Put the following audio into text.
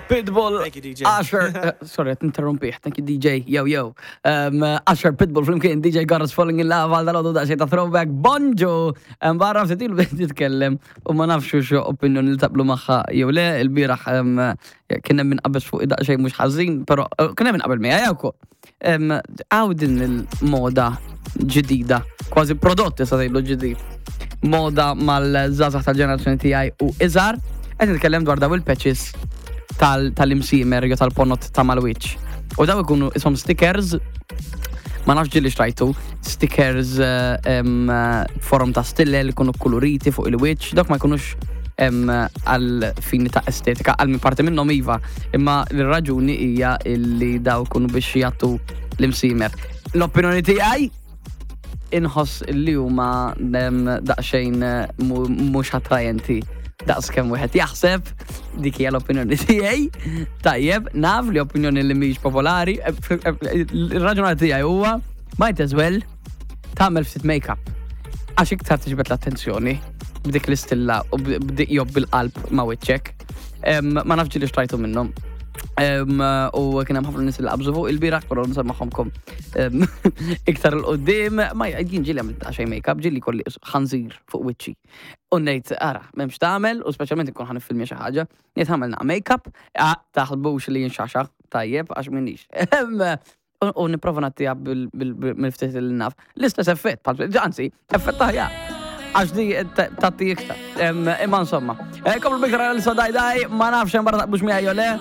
Pitbull. Thank you, DJ. Usher, sorry, qed interrompih. Thank you, DJ. Yo, yo. Usher, Pitbull, flimkien, DJ Got Us Falling in Love, għal dal-għodu daqsxejn ta' throwback. Bonġu! Barra ftit ilu bdejt nitkellem u ma nafx xo opinjoni li taqblu magħha jew le, il-bieraħ kien hemm min qabeż fuq daqsxejn mhux ħażin, però kien hemm min qabel miegħi wkoll. Għaw din il-moda ġdida, kważi prodott issa tgħidlu ġdid. Moda mal-żgħażagħ tal-ġenerazzjoni tiegħi u iżgħar, qed nitkellem dwar daw il-patches tal-imsiemer jew tal-ponot ta' mal-wiċċ. U daw ikunu isom stickers, ma nafx ġieli xtrajtu, stickers forom ta' stille li kunu koloriti fuq il-wiċċ, dawk ma jkunux għal fini ta' estetika, għal min parti minnhom iva, imma l-raġuni hija illi daw kunu biex jagħtu l-imsiemer. L-opinjoni tiegħi inħoss li huma daqsxejn mhux attrajenti daqs kemm wieħed jaħseb, dik hija l-opinjoni tiegħi. Tajjeb, naf li opinjoni li mhix popolari, ir-raġunament tiegħi huwa might as well tagħmel ftit make-up. Għax iktar tiġbed l-attenzjoni b'dik l-istilla u b'dik jew bil-qalb ma' wiċċek. Ma nafx li xtrajtu minnhom. U kien hemm ħafna nies li qabżu fuq il-bieraħ, però nsemmaħomkom iktar 'il quddiem, ma jien ġieli għamilt xejn make-up, ġieli kolli ħanżir fuq wiċċi. U ngħid, ara, m'hemmx tagħmel, u speċjalment ikun ħa niffilmja xi ħaġa, ngħid ħamel naqa' make-up, ah, taħsbux li jinxaxa, tajjeb, għax minix. U nipprova nagħtiha mill-ftit li naf. L-istess effett, anzi, effett aħjar. Għax di tatti iktar. Imma insomma. Komplu bikra l daj daj, ma nafx hemm barra taqbux miegħi jew le.